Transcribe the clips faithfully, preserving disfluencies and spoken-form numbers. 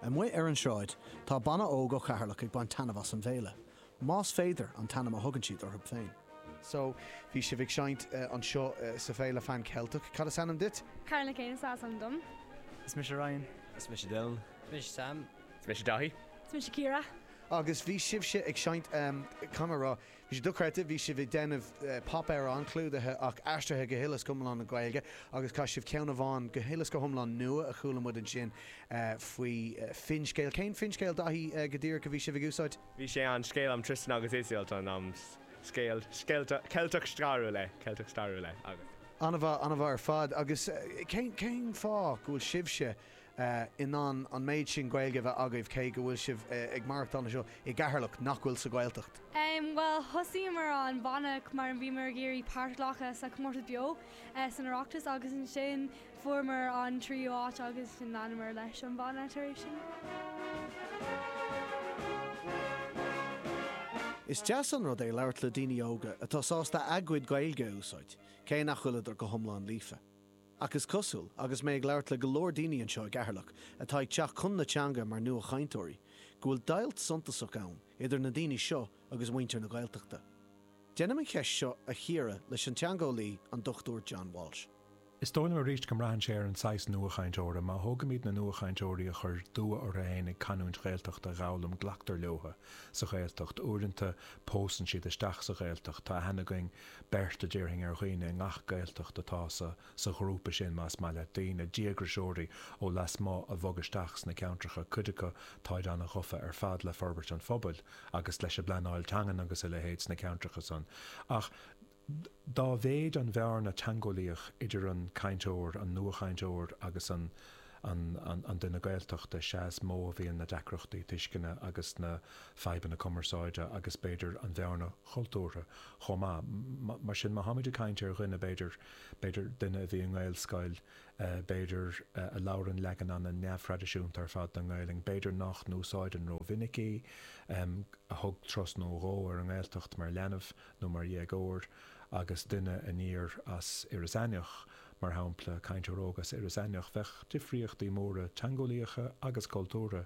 Amuigh ar an sráid, tá banna óg ó Cheatharlach ag baint taitneamh as an bhféile. Más féidir an t-ainm a thugann siad orthu féin. So bhí sibh ag seinnt uh, anseo uh, sa Féile Phan Ceilteach. Cad is ainm duit? Carla Céin is dom. Is mise Ryan. Is mise Dylan. Is mise Sam. Is mise Daithí. Is mise Ciara. Agus bhí sibhse ag seinnt um, camrá, bhí sé dochreidte bhí sibh ag déanamh uh, pop amhrán clúdaithe ach aistrithe go huile is go hiomlán na Gaeilge agus chaith sibh ceann amháin go huile is go hiomlán nua a chuala muid ansin uh, faoi uh, finscéal. Cén finscéal Daithí uh, go díreach a bhí sibh ag úsáid? Bhí sé an scéal am Tristan agus Iseult an am scéal Ceilteach stairiúil é Ceilteach stairiúil é agus. An-mhaith an-mhaith ar fad agus uh, cén cén fáth go bhfuil sibhse uh, in ann an méid sin Gaeilge bheith agaibh cé go bhfuil sibh uh, ag maireachtáil anseo i gCeatharlach nach bhfuil sa Ghaeltacht. Um, well thosaíomar an banna mar an bhíomar ag iarraidh páirt a ghlacadh sa comórtas beo uh, san Oireachtas agus ansin fuaireamar an tríú háit agus sin leanamar leis an banna tar éis sin. Is deas an rud é labhairt le daoine óga atá sásta a gcuid Gaeilge a úsáid, cé nach bhfuileadar go hiomlán líofa. Ach is cosúil agus mé ag labhairt le go leor daoine anseo i gCeatharlach atá ag teacht chun na teanga mar nua-chainteoirí, go bhfuil deighilt suntasach ann idir na daoine seo agus muintir na Gaeltachta. Déanaim an cheist seo a chíoradh leis an teangeolaí an Dr John Walsh. Is dóigh liom arís go mbraitheann sé ar an saghas nuachainteora, má thógaimid na nuachainteoirí a chuir dua orthu féin ag canúint Ghaeltachta a dh'fhoghlaim glactar leotha sa Ghaeltacht. Uaireanta pósann siad isteach sa Ghaeltacht. Tá aithne againn beirt a déarfainn ar dhaoine i ngach Gaeltacht atá sa sa ghrúpa sin más maith leat daoine, díograiseoirí ó lasmuigh a bhog isteach sna ceantracha, cuid acu táid an-ghafa ar fad le forbairt an phobail agus leis an bpleanáil teangan agus a leithéid sna ceantracha san. Ach dá mhéid an bhearna teangeolaíoch idir an cainteoir, an nuachainteoir agus an an, an, an duine Gaeltachta is ea is mó a bhíonn na deacrachtaí tuisceana agus na fadhbanna cumarsáide agus b'fhéidir an bhearna chultúrtha chomh maith. Mar sin má tháimid ag caint ar dhuine b'fhéidir b'fhéidir duine a bhí i nGaelscoil, b'fhéidir a labhrann leagan an-neamhthraidisiúnta ar fad den nGaelainn, b'fhéidir nach n-úsáideann rómhinic í, a thug turas nó dhó ar an nGaeltacht mar leanbh nó mar dhéagóir agus duine aniar as Iorras Aithneach, mar shampla, cainteoir óg as Iorras Aithneach, bheadh difríochtaí móra teangeolaíocha agus cultúrtha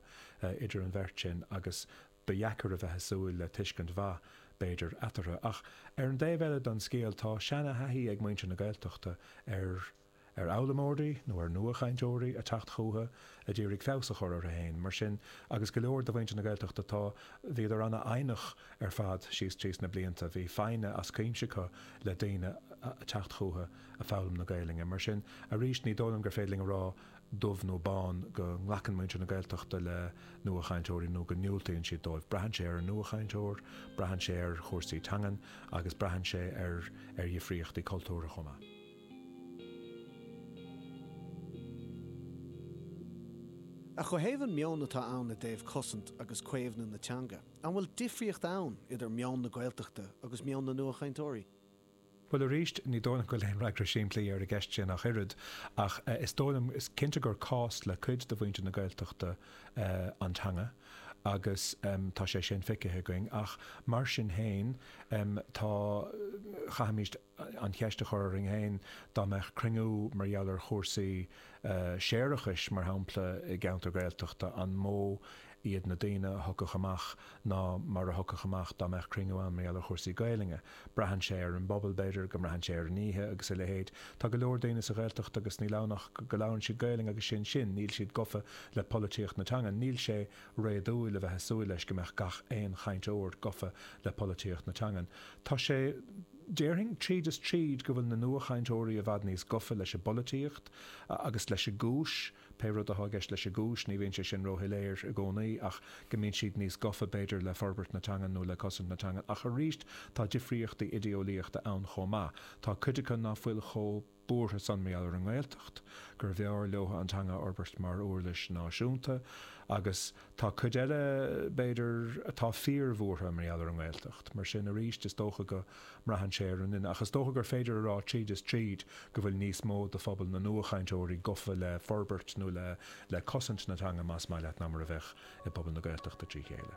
idir an bheirt sin agus ba dheacair a bheith ag súil le tuiscint mhaith, b'fhéidir, eatarthu. Ach ar an dtaobh eile den scéal, tá seana-thaithí ag muintir na Gaeltachta ar ar fhoghlaimeoirí nó ar nuachainteoirí ag teacht chucu a d'iarraidh feabhas a chur orthu féin. Mar sin, agus go leor de mhuintir na Gaeltachta, tá, bhíodar an-fhoighneach ar fad síos tríos na blianta, bhí foighne as cuimse acu le daoine a teacht chucu a foghlaim na Gaelainne. Mar sin, arís, ní dóigh liom gur féidir linn a rá dubh nó bán go nglacann muintir na Gaeltachta le nuachainteoirí nó go ndiúltaíonn siad dóibh. Braitheann sé ar an nuachainteoir, braitheann sé ar chúrsaí teangan agus braitheann sé ar ar dhifríochtaí cultúrtha chomh maith. Ach ó thaobh an meon atá ann i dtaobh cosaint agus caomhnú na teanga, an bhfuil difríocht ann idir meon na Gaeltachta agus meon na nuachainteoirí? Bhuel arís, ní dóigh liom go bhfuil aon fhreagra simplí ar an gceist sin ach oiread, ach is dóigh liom, is cinnte gur cás le cuid de mhuintir na Gaeltachta an teanga agus tá sé sin feicthe againn ach mar sin féin tá, chaithfimís an cheist a chur orainn féin dá mbeadh cruinniú mar gheall ar chúrsaí séarachais, mar shampla, i gceantar Gaeltachta, an mó iad na daoine a thiocfadh amach ná mar a thiocfadh amach dá mbeadh cruinniú ann mar gheall ar chúrsaí Gaelainne. Braitheann sé ar an bpobal, b'fhéidir, go mbraitheann sé ar an oíche agus a leithéid. Tá go leor daoine sa Ghaeltacht agus níl ann ach go labhrann siad Gaelainn agus sin sin, níl siad gofa le polaitíocht na teanga. Níl sé réadúil a bheith ag súil leis go mbeadh gach aon chainteoir gofa le polaitíocht na teangan. Tá sé, déarfainn, tríd is tríd go bhfuil na nuachainteoirí i bhfad níos gofa leis an bpolaitíocht agus leis an gcúis, pé rud atá i gceist leis an gcúis, ní bhíonn sé sin róshoiléir i gcónaí, ach go mbíonn siad níos gofa, b'fhéidir, le forbairt na teangan nó le cosaint na teangan. Ach arís, tá difríochtaí idé-eolaíochta ann chomh maith. Tá cuid acu ná fuil chomh buartha san mar gheall ar an nGaeltacht, gurbh fhearr leo an teanga a fhorbairt mar uirlis náisiúnta, agus tá cuid eile, b'fhéidir, atá fíorbhuartha mar gheall ar an nGaeltacht. Mar sin, arís, is dócha go mbraitheann sé ar an nduine, ach is dócha gur féidir a rá tríd is tríd go bhfuil níos mó de phobal na nuachainteoirí gofa le forbairt nó le le cosaint na teanga, más maith leat, ná mar a bheadh i bpobal na Gaeltachta trí chéile.